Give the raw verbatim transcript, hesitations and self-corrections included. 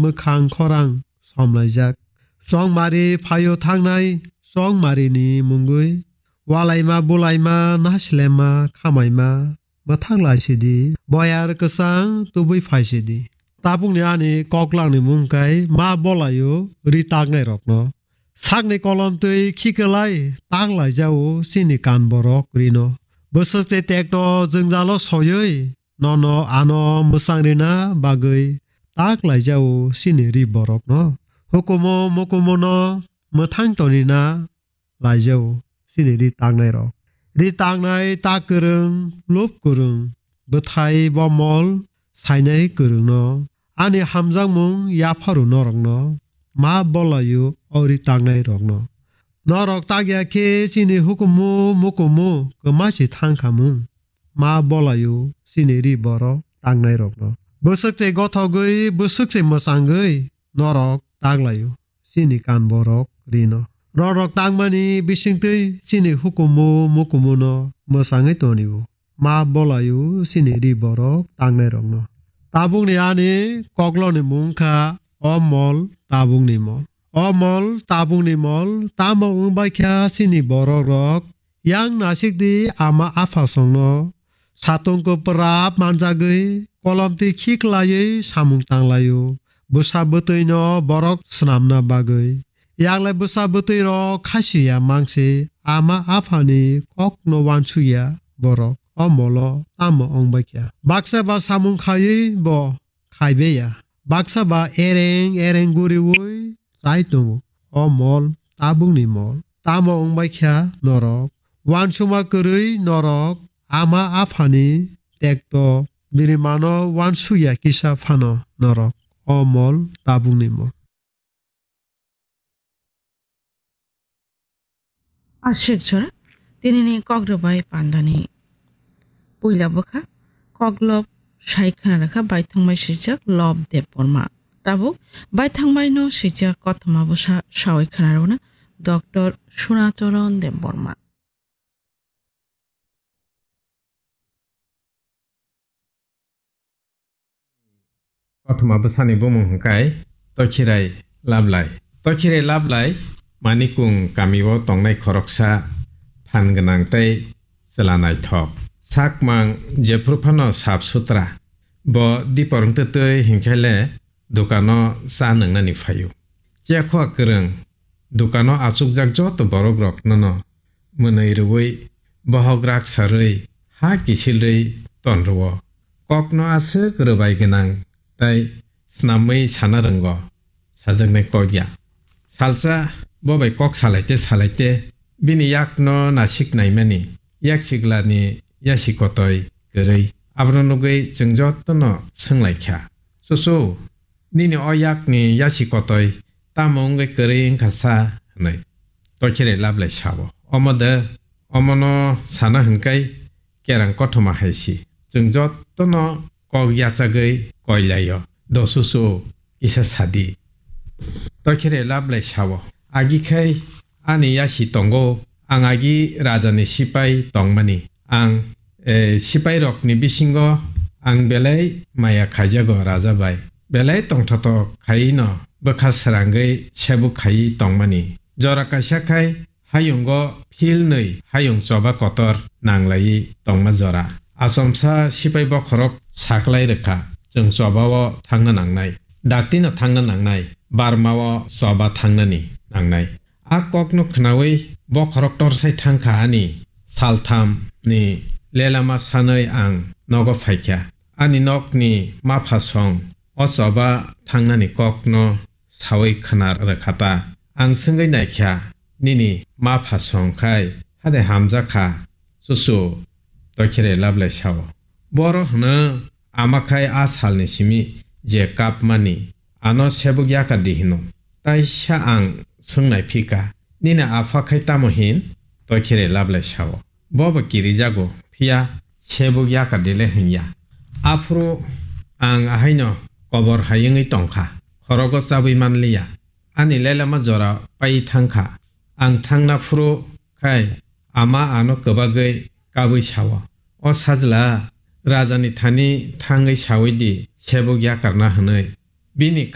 mwkhang khorang somlaijak. Chongmari phaio thangnai chongmarini mungwi. Walaima bulaima nasilema khamaima mwthang laisidi. Boyar kwchang tubui phaisidi. Tabukni ani koklangni mung kai ma bolaio ri taknairokno. Sakni kolom twi khikwlai tak laijao chini kan borok rino. Bwswk tei tekto jwngjalo soywi nono ano mwchang rina bagwi tak laijao chini ri borokno. Hukumu mukumu no mwthang tonina laijao chini ri taknairok. Ri taknai tak kwrwng, lup kwrwng, bwthai bomol sainai kwrwngno, ani hamjakmung yapharu norokno, ma bolaio o ri taknairokno. Norok takya khe chini hukumu mukumu kwma se thangkhamung, ma bolaio chini ri borok taknairokno. Bwswk se gothogwi, bwswk se mwchangwi norok taklaio chini kan borok rino. Norok tangmani bisingtwi chini hukumu mukumuno mwchangwi tonio. Ma bolaio chini ri borok taknairokno. Tabukni ani kokloni mung kha o mol tabukni mol. O mol tabukni mol tamo wngbai kha chini borok rok. Yang nasikdi ama aphasongno satung kwprap manjagwi kolomtwi khiklaiwi samung tanglaio. Bwsa bwtwino borok swnamna bagwi. Yaklai bwsa bwtwirok khasiya mangse ama aphani kokno wansukya borok. O molo tamo wngbaikha? Baksa ba samung khaiwi bo khaibeya. Baksa ba ereng ereng guriwi chai tongo. O mol tabukni mol. Tamo wngbai kha norok? Wansukma kwrwi norok ama aphani tekto bini mano wansukya kisa phano norok. O mol tabukni mol. Ashik jora, tinini kok rwbai pandani puila bwkha, kok lob sai khna rwkha, baithangbai swijak Lob Debbarma. Tabuk baithangbai no swijak kothoma bwsa sawi khna rwna Doctor Sunacharan Debbarma. Kothoma bwsani bumung hwnkhe Tokhirai Lablai. Tokhirai Lablai Manikung kamio tongnai khoroksa phan gwnang tei chwla naithok. Sakmang jephru phano sap sutra. Bo dipor wngtwtwi hinkhe le dukano cha nwngnani phaio. Chekhoa kwrwng dukano achukjak joto borok rok nono mwnwi rwui bohok rak sarwi ha kisilrwi ton rwo. Kokno aswk rwbai gwnang tei snamwi sana rwngo sajaknai kok ya. Salsa bo bai kok salaite salaite bini yakno nasik naimani yak siglani yasi kotoi kwrwi. Abono nugwi chwng jotono swnglaikha, "Chuchu, nini o yakni yasi kotoi tamo wngwi kwrwi wngkha sa?" hwnwi. Tokhirai Lablai sao, "Omo de, omono sana hwnkai kerang kothoma hai si. Chwng jotono kok yachagwi koilaio. Do chuchu, kisa sadi." Tokhirai Lablai sao, "Agi khai ani yasi tongo, ang agi rajani sipai tongmani. Ang, eh, sipai rokni bisingo ang belai maya khaijago raja bai. Belai tongthotok khaino bwkha srangwi sebuk khaiwi tongmani. Jora kaisa khai hayungo philnwi hayung choba kotor nanglaiwi tongma jora. Achomsa sipai bokhorok saklai rwkha, chwng chobao thangna nangnai. Daktino thangna nangnai, barmao choba thangnani nangnai." A kokno khnaui bokhorok torsai thangkha ani salthamni lelama sanwi ang nogo phaikha. Ani nokni mapha song o choba thangnani kokno saui khna rwkha ta. Ang swngwi naikha, "Nini mapha song khai hade hamjakha, chuchu?" Tokhirai Lablai sao, "Boro hwno ama khai a salni simi je kapmani, ano sebuk yakar di hino. Taisa ang swngnai phika, nini apha khai tamo hin?" Tokhirai Lablai sao, "Bobo kirijago, phiya sebuk yakar di le hwnya. Aphuru ang ahaino kobor hayungwi tongkha, khorogo chabwi manliya. Ani lelama jora pai thangkha. Ang thangna phuru khai ama ano kwbagwi kabwi sao, 'O sajla, rajani thani thangwi saui di, sebuk yakarna,' hwnwi. Bini